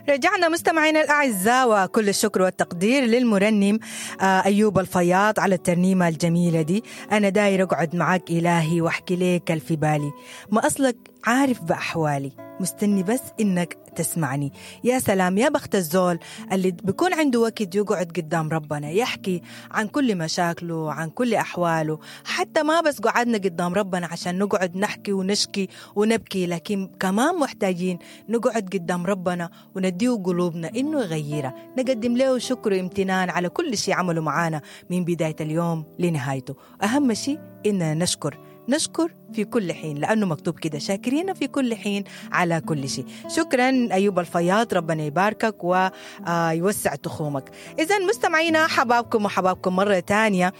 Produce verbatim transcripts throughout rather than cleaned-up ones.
رجعنا مستمعينا الأعزاء، وكل الشكر والتقدير للمرنم أيوب الفياض على الترنيمة الجميلة دي. أنا داير أقعد معاك إلهي وأحكي لك في بالي، ما أصلك عارف بأحوالي، مستني بس إنك تسمعني. يا سلام يا بخت الزول اللي بيكون عنده وقت يقعد قدام ربنا يحكي عن كل مشاكله، عن كل أحواله. حتى ما بس قعدنا قدام ربنا عشان نقعد نحكي ونشكي ونبكي، لكن كمان محتاجين نقعد قدام ربنا ونديه قلوبنا إنه يغيرها، نقدم له شكر وامتنان على كل شيء عمله معانا من بداية اليوم لنهايته. أهم شيء إننا نشكر، نشكر في كل حين، لأنه مكتوب كده شاكرين في كل حين على كل شيء. شكرا أيوب الفياض، ربنا يباركك ويوسع تخومك. إذا مستمعينا حبابكم وحبابكم مرة تانية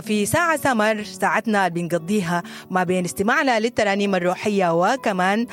في ساعة سمر، ساعتنا اللي بنقضيها ما بين استماعنا للترانيم الروحية وكمان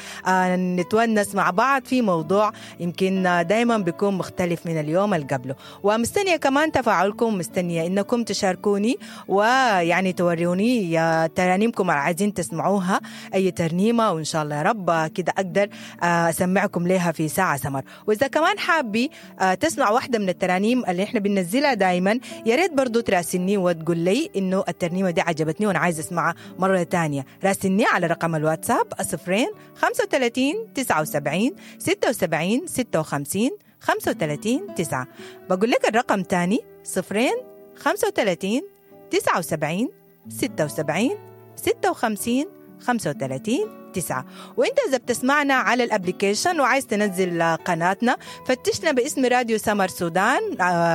نتونس مع بعض في موضوع يمكن دايما بيكون مختلف من اليوم اللي قبله. ومستنية كمان تفاعلكم، مستنية إنكم تشاركوني ويعني توروني ترانيمكم عايزين تسمعوها أي ترنيمة، وإن شاء الله يا رب كده أقدر أسمعكم لها في ساعة سمر. وإذا كمان حابي تسمع واحدة من الترانيم اللي إحنا بننزلها دايما، يا ريت برضو تراسلني وتقول لي إنه الترنيمة دي عجبتني وأنا عايز أسمعها مرة تانية. راسلني على رقم الواتساب صفرين خمسة وثلاثين تسعة وسبعين ستة وسبعين ستة وخمسين خمسة وثلاثين تسعة. بقول لك الرقم تاني صفرين خمسة وثلاثين تسعة وسبعين ستة وسبعين ستة وخمسين خمسة وثلاثين تسعة. وانت إذا بتسمعنا على ال application وعايز تنزل قناتنا، فتشنا باسم راديو سمر سودان،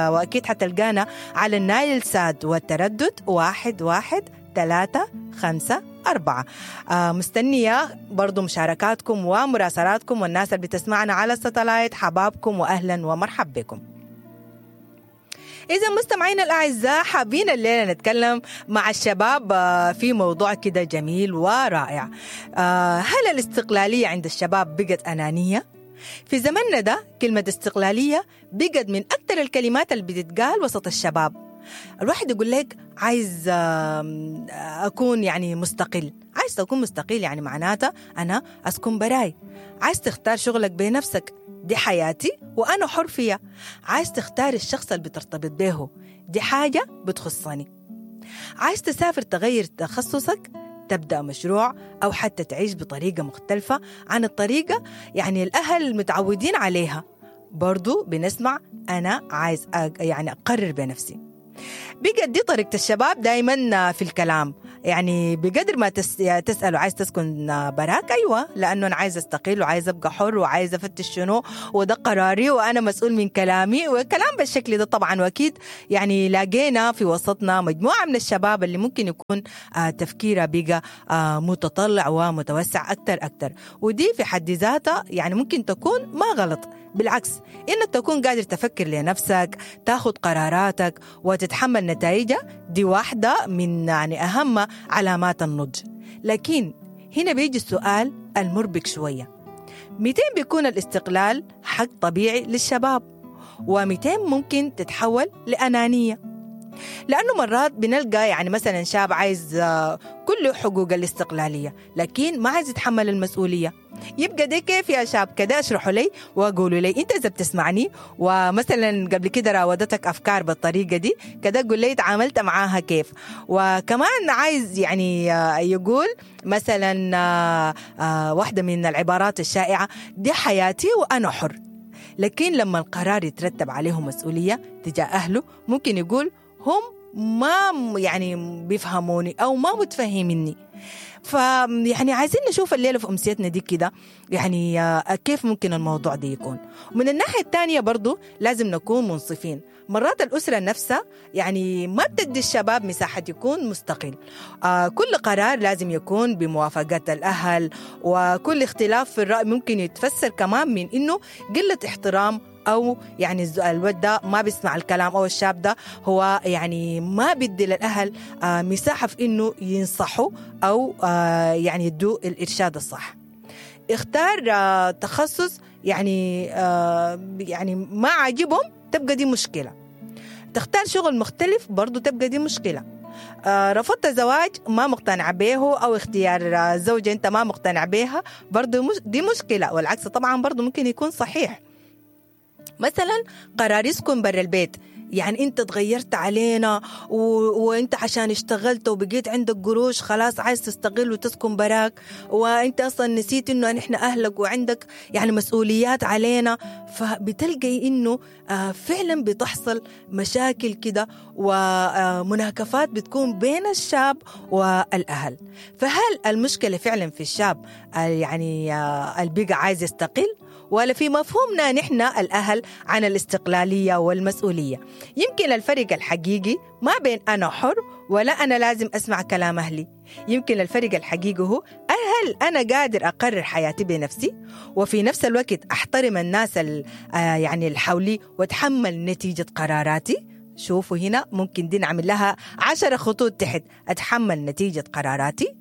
وأكيد حتلقانا على النايل ساد والتردد واحد واحد ثلاثة خمسة أربعة. مستنية برضو مشاركاتكم ومراسلاتكم والناس اللي بتسمعنا على ال satellite، حبابكم وأهلا ومرحب بكم. إذا مستمعينا الأعزاء، حابين الليلة نتكلم مع الشباب في موضوع كده جميل ورائع. هل الاستقلالية عند الشباب بقت أنانية؟ في زمننا ده كلمة استقلالية بقت من أكثر الكلمات اللي بتتقال وسط الشباب. الواحد يقول لك عايز أكون يعني مستقل، عايز تكون مستقل يعني معناته أنا أسكن براي، عايز تختار شغلك بنفسك، دي حياتي وأنا حر فيها، عايز تختار الشخص اللي بترتبط به، دي حاجة بتخصني، عايز تسافر تغير تخصصك، تبدأ مشروع، أو حتى تعيش بطريقة مختلفة عن الطريقة يعني الأهل متعودين عليها. برضو بنسمع أنا عايز يعني أقرر بنفسي. بقت دي طريقة الشباب دايما في الكلام، يعني بقدر ما تس... تسأله عايز تسكن براك؟ أيوة، لأنه أنا عايز أستقل وعايز أبقى حر وعايز أفتش شنو، وده قراري وأنا مسؤول من كلامي، وكلام بالشكل ده طبعا. وأكيد يعني لاقينا في وسطنا مجموعة من الشباب اللي ممكن يكون تفكيره بقى متطلع ومتوسع أكتر أكتر، ودي في حد ذاتها يعني ممكن تكون ما غلط، بالعكس إنك تكون قادر تفكر لنفسك، تاخد قراراتك وتتحمل نتائجها، دي واحدة من يعني أهم علامات النضج. لكن هنا بيجي السؤال المربك شوية، مئتين بيكون الاستقلال حق طبيعي للشباب، ومئتين ممكن تتحول لأنانية؟ لأنه مرات بنلقى يعني مثلا شاب عايز كل حقوق الاستقلالية لكن ما عايز يتحمل المسؤولية. يبقى ده كيف يا شاب؟ كده اشرحوا لي وقولوا لي انت اذا بتسمعني ومثلا قبل كده راودتك افكار بالطريقه دي كده، قول لي تعاملت معاها كيف. وكمان عايز يعني يقول مثلا واحده من العبارات الشائعه دي حياتي وانا حر، لكن لما القرار يترتب عليه مسؤوليه تجاه اهله ممكن يقول هم ما يعني بيفهموني أو ما متفهميني. فيعني عايزين نشوف الليلة في أمسيتنا دي كده يعني كيف ممكن الموضوع ده يكون. ومن الناحية الثانية برضو لازم نكون منصفين، مرات الأسرة نفسها يعني ما بتدي الشباب مساحة يكون مستقل، آه كل قرار لازم يكون بموافقة الأهل، وكل اختلاف في الرأي ممكن يتفسر كمان من إنه قلة احترام، أو يعني الولد ده ما بيسمع الكلام، أو الشاب ده هو يعني ما بيدي للأهل مساحة في إنه ينصحوا أو يعني يدوا الإرشاد الصح. اختار تخصص يعني يعني ما عاجبهم تبقى دي مشكلة، تختار شغل مختلف برضو تبقى دي مشكلة، رفضت زواج ما مقتنع به، أو اختيار زوجة أنت ما مقتنع بها برضو دي مشكلة، والعكس طبعا برضو ممكن يكون صحيح. مثلا قرار يسكن برا البيت، يعني انت تغيرت علينا و... وانت عشان اشتغلت وبقيت عندك قروش خلاص عايز تستقل وتسكن براك، وانت اصلا نسيت انه نحن اهلك وعندك يعني مسؤوليات علينا. فبتلقي انه آه فعلا بتحصل مشاكل كده ومناكفات بتكون بين الشاب والاهل. فهل المشكلة فعلا في الشاب آه يعني آه البقى عايز يستقل، ولا في مفهومنا نحن الأهل عن الاستقلالية والمسؤولية؟ يمكن الفرق الحقيقي ما بين أنا حر ولا أنا لازم أسمع كلام أهلي. يمكن الفرق الحقيقي هو هل أنا قادر أقرر حياتي بنفسي، وفي نفس الوقت أحترم الناس يعني اللي حولي وأتحمل نتيجة قراراتي. شوفوا هنا ممكن دي نعمل لها عشر خطوط تحت، أتحمل نتيجة قراراتي.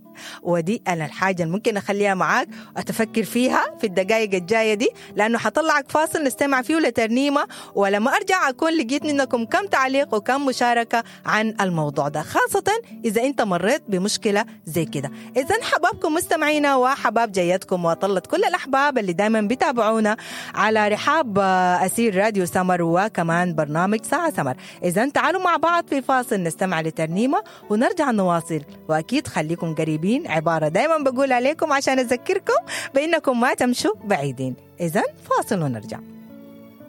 ودي أنا الحاجة اللي ممكن أخليها معاك أتفكر فيها في الدقائق الجاية دي، لأنه حطلعك فاصل نستمع فيه لترنيمة، ولما أرجع أكون لقيت منكم كم تعليق وكم مشاركة عن الموضوع ده، خاصة إذا أنت مريت بمشكلة زي كده. إذا حبابكم مستمعينا وحباب جيتكم وطلت كل الأحباب اللي دايما بيتابعونا على رحاب أسير راديو سمر وكمان برنامج ساعة سمر. إذا تعالوا مع بعض في فاصل نستمع لترنيمة ونرجع نواصل، وأكيد خليكم قريبين. عبارة دايما بقول عليكم عشان أذكركم بأنكم ما تمشوا بعيدين. إذن فاصل ونرجع.